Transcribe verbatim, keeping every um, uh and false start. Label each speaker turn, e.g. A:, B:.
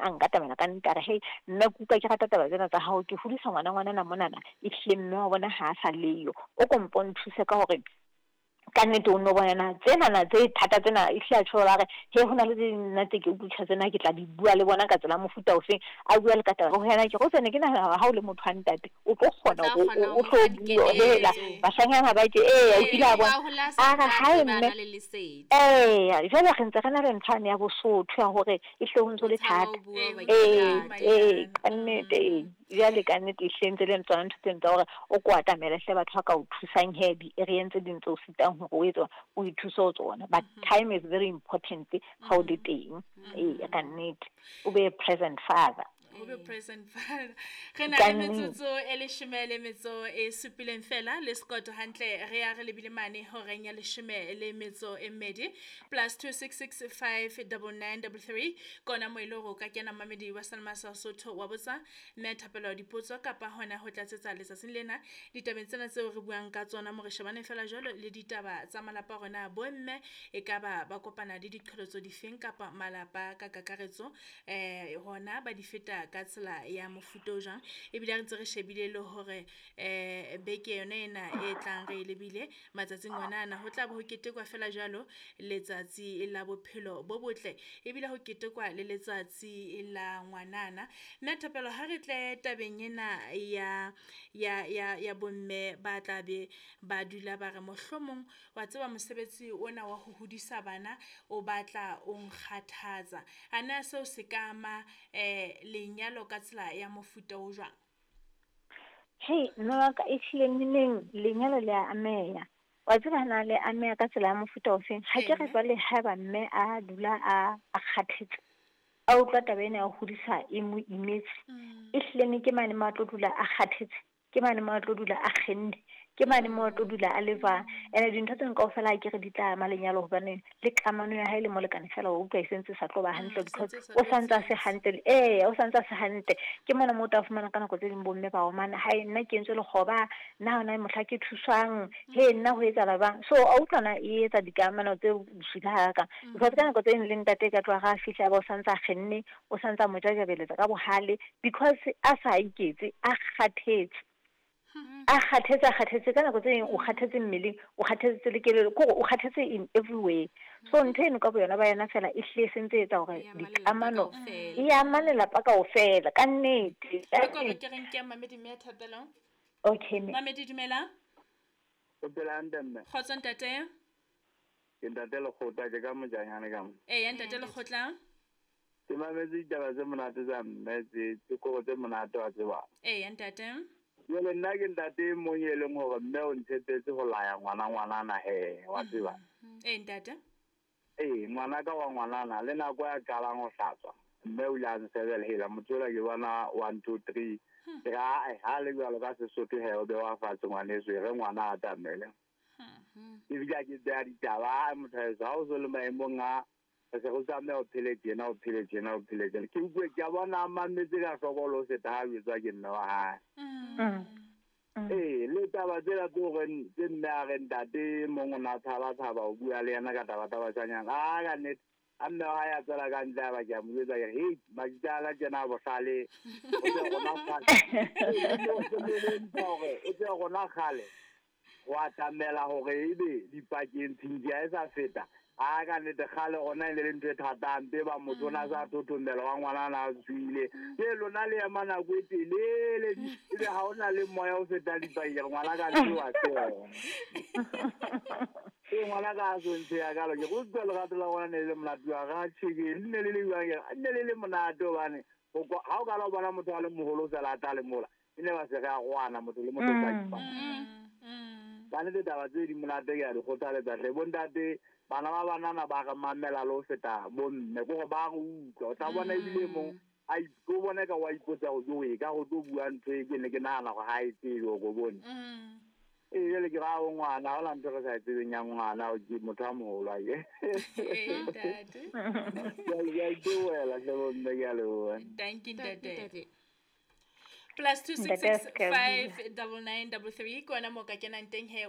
A: A nkatamela ka nnete, a re, "Hei mme, ke utlwa ke rata taba tsena tsa hao. Ke hodisa ngwana ngwanana monana, ehlile mme wa bona ha a sa leyo. O ko mpo nthuse ka hore ka nnete o nno bona tsenana tse thata tsena." Ehlile a tjho, a re, "He, ho na le tse ding nna tse ke utlwisisa tsena, ke tla di bua le bona ka tsela mofuta ofeng." A bua le ka taba ho yena. Ke go tsene, ke nahana hore ha o le motho wa ntate, o tlo kgona hore o tlo bua hela bashanyana ba ke ee, o kile a bona a re, "Hae mme, ee." Jwale re ntse re na le ntho yane ya Bosotho ya hore ehlile ho ntso le thata. Ee, ee, ka nnete. Ee, jwale ka nnete ehlile ntse le tsona ntho tseno tsa hore o ko atamele hle batho ba ka o thusang he di-area tse ding tse o sitang hore o etse o ithuse ho tsona. But time is very important ha o le teng. Ee, ka nnete, o be present father.
B: O be present father. Re na le metsotso e leshome le metso e supileng fela le sekoto hantle, re ya re lebile mane horeng ya leshome le metso e mmedi. Plus two six six five double nine double three kona mo e le hore o ka kena, mamedi wa Salma sa Sotho, wa botsa mme Thapelo dipotso kapa hona ho tlatsetsa letsatsing lena ditabeng tsena tseo re buang ka tsona, mo re shebane fela jwalo le ditaba tsa malapa a rona. Bomme e ka ba ba kopana le diqholotso difeng, kapa malapa ka kakaretso eh hona ba di feta ka tsela ya mofuta o jwang? Ebile re ntse re shebile le hore eh beke yona ena e tlang re e lebile matsatsing ona ana, ho tla be ho ketekwa fela jwalo letsatsi la bophelo bo botle, ebile ho ketekwa le letsatsi la ngwanana. Mme Thapelo, ha re tle tabeng ena ya ya ya ya bomme ba tla be ba dula ba re, "Mohlomong wa tseba mosebetsi ona wa ho hodisa bana o batla o nkgathatsa." Ana seo se ka ama eh lenyalo ka tsela ya mofuta o jwang?
A: Hei mme wa ka, ehlile neneng lenyalo le a ameha. Wa tseba na le ameha ka tsela ya mofuta ofeng? Ha ke re jwale haeba mme a dula a a kgathetse, a utlwa taba ena ya ho hodisa e mo imetse, ehlile ne ke mane mo a tlo dula a kgathetse, ke mane mo a tlo dula a kgenne, ke mane mo a tlo dula a le jwang. Ene dintho tseno kaofela ha ke re di tla ama lenyalo, hobane le kamano ya hae le molekane fela wa utlwa e sentse e sa tlo ba hantle, because o santse a se hantle. Ee, o santse a se hantle. Ke mona mo o tla fumana ka nako tse ding bomme ba omana, "Hae nna ke entswe lekgoba, nna hona mohla ke thuswang, he nna ho etsahala jwang?" So a utlwana e etsa dikamano tse bosula hakakang, because ka nako tse ding le ntate ka tloha ga a fihla, ba o santse a kgenne, o santse a mo jajabeletsa ka bohale, because a sa iketse, a kgathetse, a kgathetse, a kgathetse. Ka nako tse ding o kgathetse mmeleng, o kgathetse le kelello, ke hore o kgathetse in every way. So ntho eno ka boyona ba yona fela e hlile e sentse e etsa hore dikamano e ama lelapa kaofela, ka nnete.
B: Ke ke re nke mamedi mme Thapelo.
A: Okay mme.
B: Mamedi, dumela.
C: O phela hantle mme?
B: Kgotso ntate.
C: Ke ntate Lekgotla, ke ka Mojanyane ka mo.
B: Ee ntate Lekgotla.
C: Ke mametse ditaba tse monate tsa mme, tse tse kore tse monate wa tseba.
B: Ee ntate.
C: Jwale nna ke ntate e mong e leng hore mme o ntshepetse ho laya ngwana ngwanana he, wa tseba.
B: Ee ntate.
C: Ee, ngwana ka wa ngwanana le nako ya qalang ho hlatswa, mme o ile a nsebela, "Hela motho ola ke bona one two three." Ke re, "Ae, ha le jwalo ka Sesotho he, o bewa fatshe ngwaneso, e re ngwana a atamele." Ebile ha ke beha ditaba, motho heso, ha o so le maemong a re se re tlameha o phele tjena, o phele tjena, o phele tjena. Ke utlwe ke a bona a mametse ka hloko le ho feta ha jwetswa ke mme wa hae. Ee, le taba tsela tse horeng tse mme a re ntate mong o na tshaba tshaba o bua le yena ka taba tsa bashanyana. A ka nnete, a mme wa hae a tswela ka ntle, a ba ke a mo jwetsa ke re, "Hei, majitala tjena a bohlale, o tsebe rona kgale, o tsebe rona kgale wa atamela hore ebe dipakeng tshintshi ha e sa feta." A ka nnete, kgale rona e ne le ntho e thata hampe, ba motho o na sa thothomela wa ngwanana a tswile ke lona le ema nako e telele, ebe ha o na le moya o fetang dipakeng. Ngwana ka ntse wa tseba ee, ngwana ka a so ntsheya kalo. Ke go utlwa lerato la rona ne le monate wa ga tjheke, le ne le le jwang, ne le le monate, hobane ha o kala o bona motho a le moholo fela a tla le mola, e ne ba se re a rwana motho le motho ka ipa. Ka nnete taba tse di monate, ke a di kgothaletsa hle bontate. Bana ba banana ba re mamela le ho feta bomme, ke hore ba re utlwa. O tla bona ebile mong a o bone ka wa ipotsa hore jo e ka go tlo bua ntho e ke ne ke nahana hore ha e tsebe, o ko bone. Ee, jwale ke ra o ngwana, ha hona ntho re sa e tsebeng ya ngwana, ke motho a moholo ake.
B: Ee ntate.
C: Ke a itebohela hle bomme, ke a leboha.
B: Thank you ntate. Plus two six six five double nine double three ke ona mo ka kenang teng he.